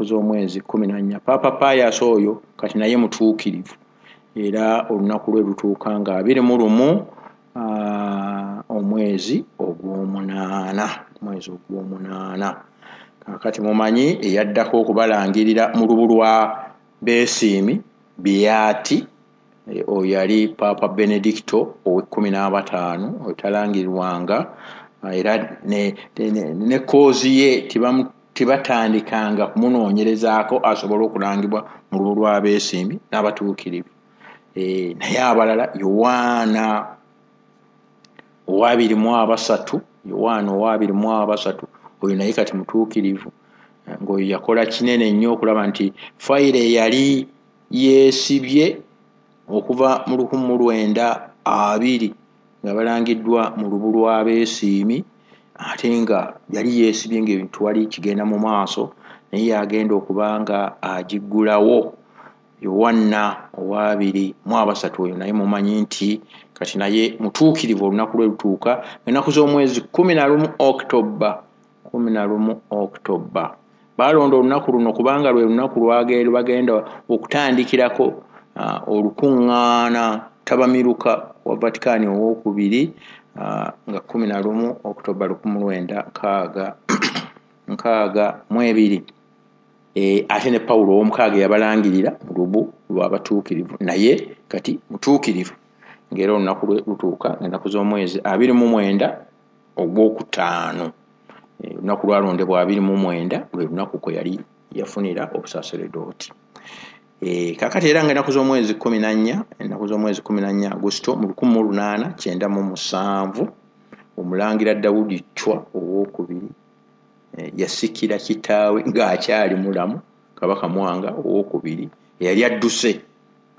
Z'omwezi 14, Paapa Pius oyo kati naye mutuukirivu, era olunaku lwe lutuuka nga 21 omwezi ogw'omunaana, omwezi ogw'omunaana. Kakati mumanyi eyaddako okubalangirira mu lubu lwa beesiimi Biyaati, oyo yali Paapa Benedicto ow'e 15. Oyo talangirirwanga, era ne cause ye tibatandikanga kumunoonyerezaako asobole okulangibwa mu lubu lw'abeesiimi n'abatuukirivu. Naye abalala, Yowaana owabiri mu abasatu, Yowaana owabiri mu abasatu, oyo naye kati mutuukirivu, ng'oyo yakola kinene nnyo okulaba nti fayiro eyali yeesibye okuva mu 1920 nga balangiddwa mu lubu lw'abeesiimi, ate nga yali yeesibye ng'ebintu wali kigenda mu maaso, naye yagenda okuba nga agiggulawo, Yowanna owabiri mu abasatu. Oyo naye mumanyi nti kati naye mutuukirivu. Olunaku lwe lutuuka ennaku z'omwezi 11 October, 11 October. Balonda olunaku luno kubanga lwe lunaku lwagenda okutandikirako olukuŋŋaana tabamiruka wa Vatican owokubiri, nga 11 October 1962. Ate ne Pawulo ow'omukaaga yabalangirira mu lubu lw'abatuukirivu, naye kati mutuukirivu, ng'era olunaku lwe lutuuka ennaku z'omwezi 29 ogwokutaano. Olunaku lwalondebwa 29, lwe lunaku kwe yali yafunira obusaseredooti. Kakati era nga ennaku z'omwezi 14, ennaku z'omwezi 14 Agusito mu 1897, omulangira Dawudi Chwa owokubiri yasikira kitaawe ng'akyali mulamu, Kabaka Mwanga owokubiri, eyali adduse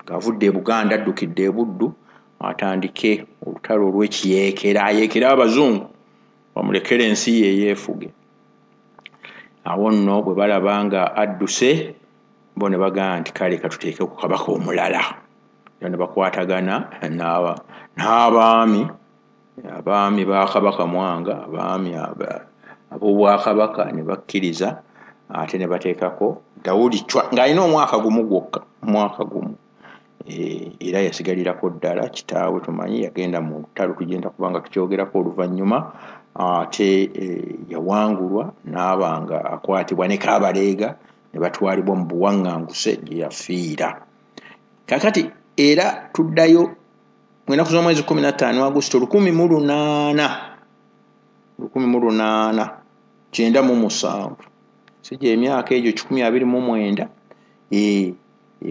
ng'avudde e Buganda, addukidde e Buddu atandike olutalo olw'ekiyeekera, ayeekere abazungu bamulekere ensi ye yeefuge. Awo nno bwe balaba nga adduse, bo ne bagamba nti kale katuteeke ku kabaka omulala, era ne bakwatagana n'abaami, abaami ba Kabaka Mwanga, abaami ab'obwakabaka ne bakkiriza, ate ne bateekako Dawudi Chwa ng'alina omwaka gumu gwokka, omwaka gumu. Era yasigalirako ddala kitaawe. Tumanyi yagenda mu lutalo, tugenda kubanga tukyogerako oluvannyuma, ate yawangulwa n'aba nga akwatibwa ne Kaabaleega ne batwalibwa mu buwaŋŋanguse gye yafiira. Kakati era tuddayo mu ennaku z'omwezi 15 Agusito 1897, si gye emyaka egyo 129,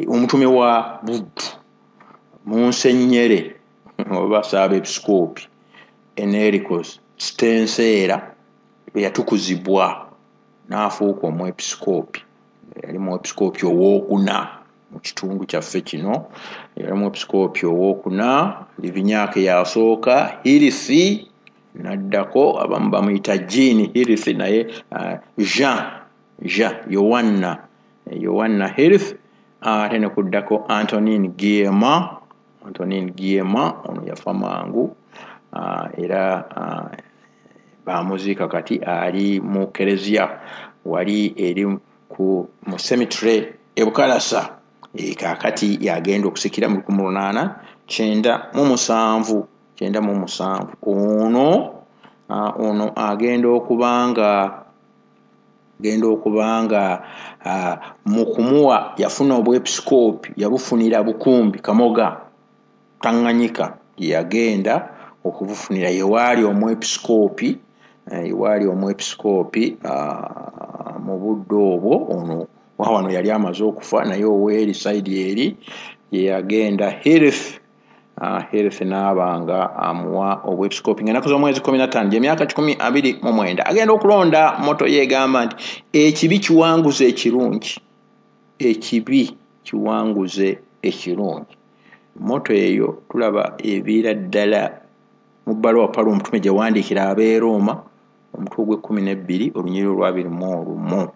omutume wa Buddu Munsenyere oba Saabepisikoopi Enrico Stenseera bwe yatukuzibwa n'afuuka omwepisikoopi. Yali mwepisikoopi owookuna mu kitundu kyaffe kino, yali mwepisikoopi owookuna. Livinyaake yasooka, Hirisi n'addako, abamu bamuyita Jean Hirisi, naye Jean Yowanna Hirth, ate ne kuddako Antonin Guillema. Antonin Guillema ono yafa mangu, era bamuziika kati ali mu kereziya wali eri ku mu cemetery e Bukalasa. Kaakati yagenda okusikira mu 1897, 97. Ono agenda okubanga mu kumuwa yafuna obwepisikoopi, yabufunira Bukumbi Kamoga Tanganyika gye yagenda okubufunira, yewaali omwepisikoopi, yewaali omwepisikoopi mu budde obwo. Ono wano yali amaze okufa, naye oweeri side eri gye yagenda Hirth n'abanga amuwa obwepisikoopi ng'ennaku z'omwezi 15, gy'emyaka 129. Agenda okulonda motto ye egamba nti ekibi kiwanguze ekirungi, ekibi kiwanguze ekirungi. Motto eyo tulaba eviira ddala mu bbaluwa Pawulo omutume gye wandiikira ab'e Rooma, omutwe ogw'e 12, olunyiriri olw'abiri mu olumu.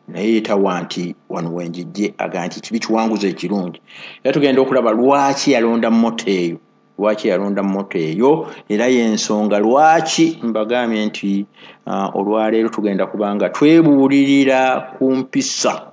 Naye yetawa nti wano wenjijje aga nti kibi kiwanguze ekirungi. Era tugenda okulaba lwaki yalonda motto eyo, lwaki yalonda motto eyo, era y'ensonga lwaki mbagambye nti olwaleero tugenda kubanga twebuulirira ku mpisa.